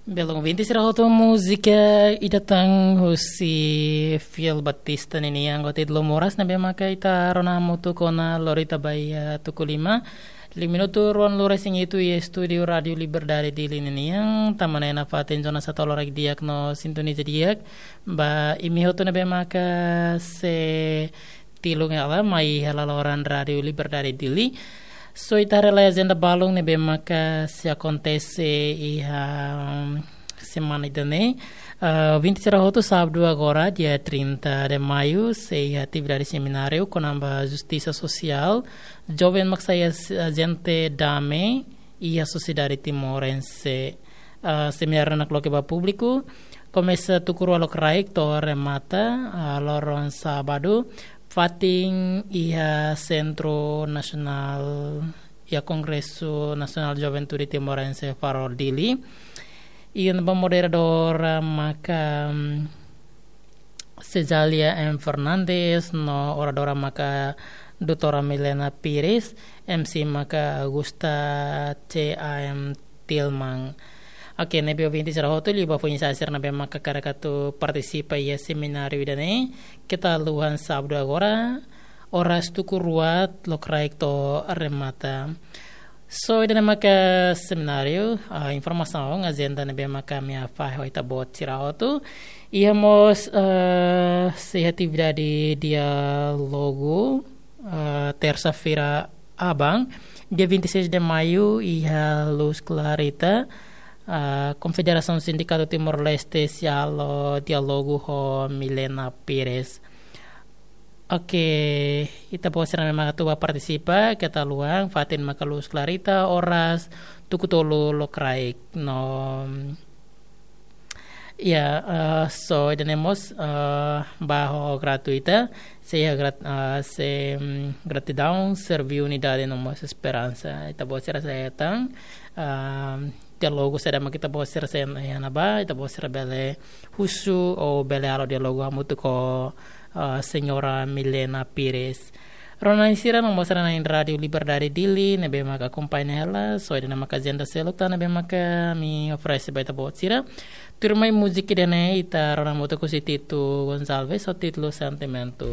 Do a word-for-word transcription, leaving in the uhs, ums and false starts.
Belun ouvinte sira hotu, múzika ida tan husi Fiel Batista ninia anggota Idlo Moras ne'ebé maka ita rona hamutuk ona lori ita ba iha tuku lima. Liu minutu ruanulu-resin-hitu iha estúdiu Rádiu Liberdade Dili ninian, tanba ne'e nafatin zona satu loraik di'ak no sintoniza di'ak ba imi hotu ne'ebé maka sei tilun hela mai iha laloran Rádiu Liberdade Dili. So ita haree lai ajenda balun ne'ebé maka sei akontese iha, um, semana ida-ne'e. Ah, ouvinte sira hotu, sábadu agora, dia trinta de maio, sei iha atividade semináriu kona-ba justisa sosiál, joven mak sai ajente dame iha sosiedade timorense. Ah, semináriu ne'e nakloke ba públiku, komesa tuku rua lokraik to'o remata, ah, loron sábadu, fatin iha Sentru Nasionál, iha Kongresu Nasionál Juventude Timorense, Farol, Dili. I ne'ebé moderadora maka, mm, Cezalia M Fernandes, no oradora maka doutora Milena Pires, M C maka Augusta C A M Tilman. Oke, ne'ebé ouvinte sira hotu, liu ba foin-sa'e sira ne'ebé maka hakarak atu partisipa iha semináriu ida-ne'e, keta haluha, sábadu agora, oras tuku rua lokraik to'o remata. So ida-ne'e maka semináriu, ah, informasaun, ajenda ne'ebé maka ami fahe ho ita-boot sira hotu. Iha mós, ah, sei atividade diálogu, ah, tersa-feira aban, dia vinte e seis de maio, iha Luz Clarita, ah, Konfederasaun Sindikatu Timor-Leste sei halo diálogu ho Milena Pires. Oke, ita-boot sira ne'ebé maka atu ba partisipa, keta haluha, fatin maka Luz Clarita, oras tuku tolu lokraik no, ya, eh, so ida-ne'e mós, eh, ba ho gratuita, sei iha grat-, eh, sei, mm, gratidaun, servi unidade no mós esperansa. Ita-boot sira sei hetan, ah, diálogu saida mak ita-boot sira sei iha ne'ebá, ita-boot sira bele husu ou bele halo diálogu hamutuk ho, ah, Señora Milena Pires. Rona-na'in sira no mós rona-na'in Rádiu Liberdade Dili ne'ebé maka akompaña hela, so ida-ne'e maka ajenda seluk tan ne'ebé maka ami oferese ba ita-boot sira. Tuirmai múzika ida-ne'e ita rona hamutuk husi Tito Gonçalves, ho títulu Sentimentu.